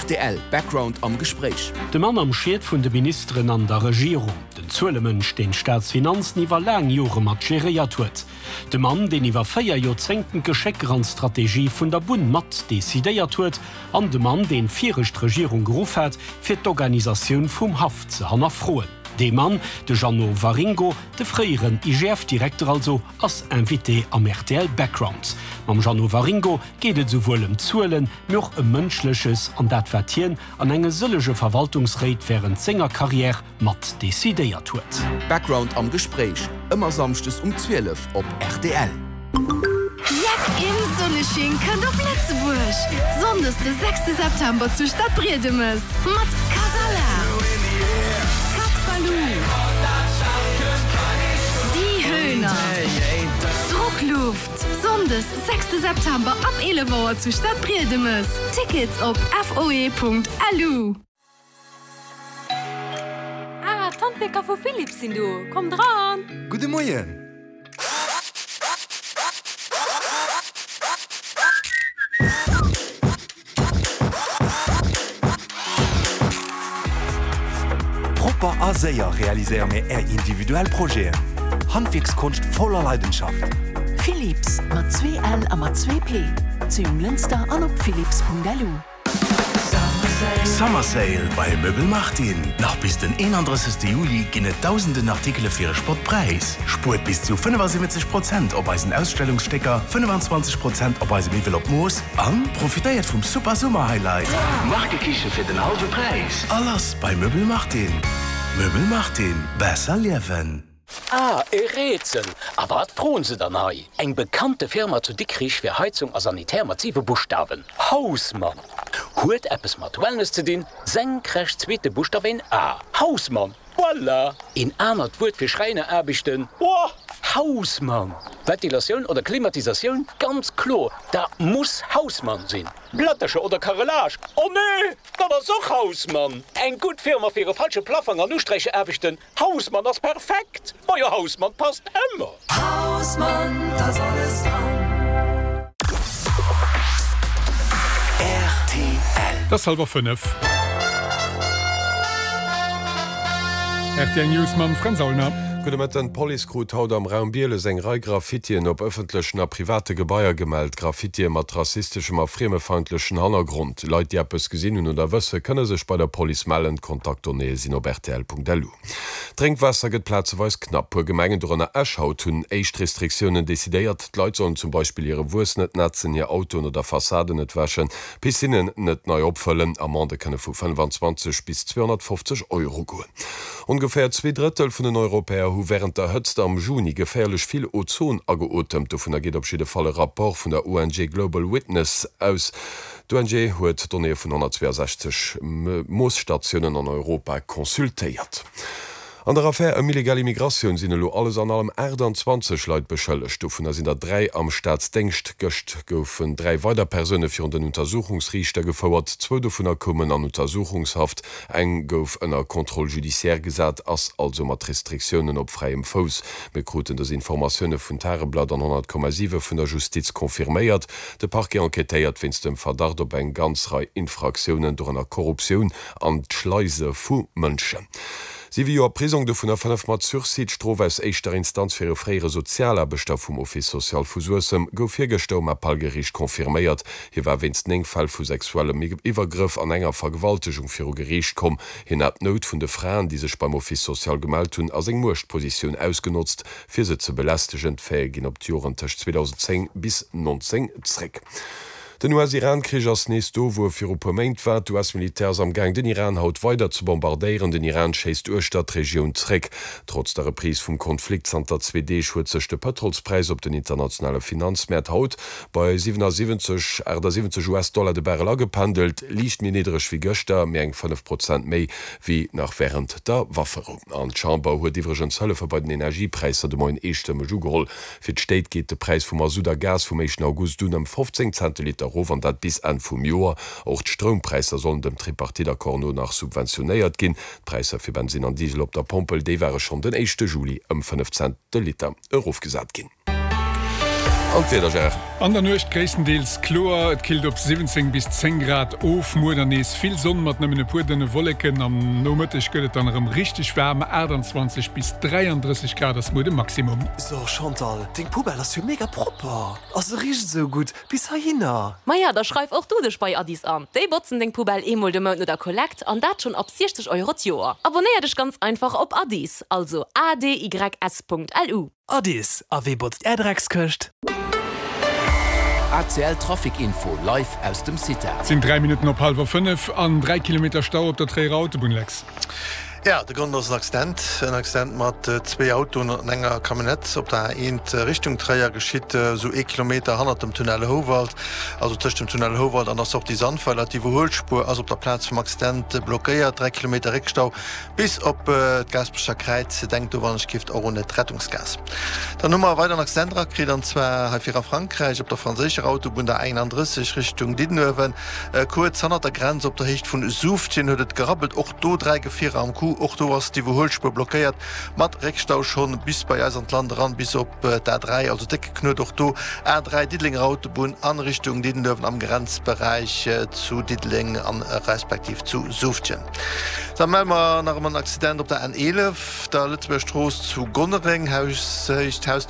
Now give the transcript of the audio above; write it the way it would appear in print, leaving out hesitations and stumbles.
Rtl Background am Gespréich. De Mann am Schiet vun de Ministeren an der Regierung, den Zuelemënsch, deen d'Staatsfinanzen iwwer laang Jore mat geréiert huet, de Mann, deen iwwer 4 Joerzéngten d'Geschécker an d'Strategie vun der Bunn mat decidéiert huet, an de Mann, deen d'viregt Regierung geruff hat, fir d'Organisatioun vum Haff ze hannerfroen. Dee Mann, de Jeannot Waringo, de fréieren IGF-Direkter also, ass Invité am rtl Background. Mam Jeannot Waringo geet et esouwuel ëm Zuelen, mee och ëm Mënschleches an dat wat hien an enge sëllege Verwaltungsréit wärend senger Karriär mat decidéiert huet. Background am Gespréich, ëmmer Samschdes um 12 op rtl. Jack im Sonnesching kënnt op Lëtzebuerg! Sonndes de sechste September zu Stadbriedemes mat Kasala, Cat Baloo, Die Höhner, Druckluft. Sonndes sechste September ab 11 Auer zu Stadbriedemes. Tickets op foe.lu. Ah, d'Handwierker vu Philips sinn do! Kommt eran! Gudde Moien! Propper a séier realiséiere mir Är individuell Projeten. Handwierkskonscht voller Leidenschaft. Philips, mat 2 L a mat 2 P, zu Jonglënster an op philips.lu. Summer Sale bei Möbel Martin! Nach bis den 31 Juli ginn et dausenden Artikele fir e Spottpräis. Spuert bis zu 75 Prozent op eisen Ausstellungsstécker, 25 Prozent op eise Miwwel op Mooss an profitéiert vum super Summer Highlight! Markekiche fir den hallwe Präis! A lass bei Möbel Martin! Möbel Martin, besser liewen! Ah, e Rätsel! A wat froen se dann hei? Eng bekannte Firma zu Dikrich fir Heizung a Sanitär mat siwe Buschtawen, Hausmann! Huet eppes mat Wellness ze dinn, senkrecht zweete Buschtaf een A, Hausmann! Voilà! Een anert Wuert fir Schräineraarbechten, Boah! Hausmann! Ventilatioun oder Klimatisatioun, ganz kloer, dat muss Hausmann sinn! Plättercher oder Carrelage, oh nee, dat ass och Hausmann! Eng gutt Firma fir e falsche Plaffang an Usträicheraarbechten, Hausmann ass perfekt! Majo Hausmann passt emmer! Hausmann, da ass alles dran. Rtl. Et ass hallwer 5. Rtl News mam Fränz Aulner. Gudde Mëtten. D'Police krut haut am Raum Bieles eng Rei Graffitien op ëffentlechen a private Gebaier gemellt. Graffitie mat rassisteschem a friemefeindlechen Hannergrond. Leit, déi eppes gesinn hunn oder wësse, kënne sech bei der Police mellen. D'Kontaktdonnéeë sinn op rtl.lu. D'Drénkwaasser gëtt plazeweis knapp. Puer Gemengen, dorënner Esch haut, hunn éischt Restriktiounen decidéiert. D'Leit sollen zum Beispill hire Wuess net nätzen, hir Autoen oder Fassaden net wäschen, Piscinnen net nei opfëllen. Amendë kënne vu 25 bis 250 Euro goen. Ongeféier 2 Drëttel vun den Europäer hu wärend der Hëtzt am Juni geféierlech vill Ozon ageotemt. Dovunner geet op jidde Fall e Rapport vun der ONG Global Witness aus. D'ONG huet Donnéeë vun 162 Moosstatiounen an Europa consultéiert. An der Affär ëm illegal Immigratioun sinn elo alles an allem 28 Leit beschëllegt. Dovunner sinn der 3 am Staatsdéngscht. Gëscht goufen 3 weider Persoune virun den Untersuchungsriichter gefouert. Zwou dovunner koumen an Untersuchungshaft, eng gouf ënner Contrôle judiciaire gesat, ass also mat Restriktiounen op fräiem Fouss. Mir kruten dës Informatioune vun Tageblatt an 100,7 vun der Justiz confirméiert. De Parquet enquêtéiert wéinst dem Verdacht op eng ganz Rei Infraktiounen, dorënner Korruptioun an d'Schleise vu Mënschen. Siwe Joer Prisong, dovunner 5 mat Sursis. D'Strof aus éischter Instanz fir e fréiere Sozialaarbechter vum Office social vu Suessem gouf virgëschter um Appellgeriicht confirméiert. Hie war wéinst 9 Fäll vu sexuellem Iwwergrëff an enger Vergewaltegung viru Geriicht komm. Hien hat d'Nout vun de Fraen, déi sech beim Office social gemellt hunn, a seng Muechtpositioun ausgenotzt. Fir se ze belästegen. D'Faite ginn op d'Joren tëscht 2010 bis 19 zréck. Den US-Iran-Krich ass nees do, wou e viru puer Méint war. D'US-Militär ass am Gaang, den Iran haut weider ze bombardéieren. Den Iran schéisst uechter d'Regioun zréck. Trotz der Reprise vum Konflikt zanter zwee Deeg huet sech de Pëtrolspräis op den internationale Finanzmäert haut bei 77, 78 US-Dollar de Barrel agependelt, liicht méi niddereg wéi gëschter, mee eng 5 Prozent méi wéi nach wärend der Wafferou. An d'Chamber huet iwwregens Hëllefe bei den Energiepräisser de Moien eestëmmeg ugeholl. Fir d'Stéit geet de Präis vu Masutt a Gas vum éischten August un ëm 15 Cent de Liter erof, an dat bis Enn vum Joer. Och d'Stroumpräisser sollen dem Tripartite-Accord no nach subventionéiert ginn. D'Präisser fir Bensinn an Diesel op der Pompel, déi ware schonn den éischte Juli ëm 5 Cent de Liter erofgesat ginn. An d'Wieder, Gérard? An der Nuecht gréisstendeels kloer, et killt op 17 bis 10 Grad of. Muer dann nees vill Sonn mat nëmmen e puer dënne Wolleken. Am Nomëtteg gëtt et dann erëm richteg waarm, 28 bis 33 Grad ass muer de Maximum. So Chantal, deng Poubelle ass jo mega propper a se richt esou gutt bis heihinner. Maja, da schreif och du dech bei Addis an. Déi botzen deng Poubelle eemol de Mount no der Kollekt an dat schonn ab 60 Euro d'Joer. Abonnéier dech ganz einfach op Addis, also adys.lu. Addis, a wee botzt är Dreckskëscht? ACL Trafic Info live aus dem CITA. Et sinn 3 Minutten op hallwer 5 an 3 Kilometer Stau op der Tréierer Autobunn, Lex. Jo, de Grond ass en Accident. En Accident mat zwee Autoen an enger Camionnette op der A1 Richtung Tréier, geschitt esou ee Kilometer hannert dem Tunnel Houwald, also tëscht dem Tunnel Houwald an der Sortie Sandweiler. D'Iwwerhuelspuer ass op der Plaz vum Accident blockéiert. 3 Kilometer Réckstau Bis op d'Gaasperecher Kräiz. Denkt do wann ech gift och un d'Rettungsgaass. Dann hu mer e weideren Accident erakritt, an zwar hei fir a Frankräich op der franséischer Autobunn, der 31 Richtung Diddenuewen. Kuerz hannert der Grenz op der Héicht vun Soufftjen huet et gerabbelt. Och do 3 Gefierer am Coup. Och do ass d'Iwwerhuelspuer blockéiert mat Réckstau schonn bis bei eis an d'Land eran, bis op d'A3, also décke Knuet och do. A3 Diddelenger Autobunn an Richtung Diddenuewen am Grenzberäich zu Diddeleng an respektiv zu Soufftjen. Da melle mer nach ëmmer en Accident op der N 11, der Lëtzebuerger Strooss zu Gonnereng, Haushéicht, Hausnummer.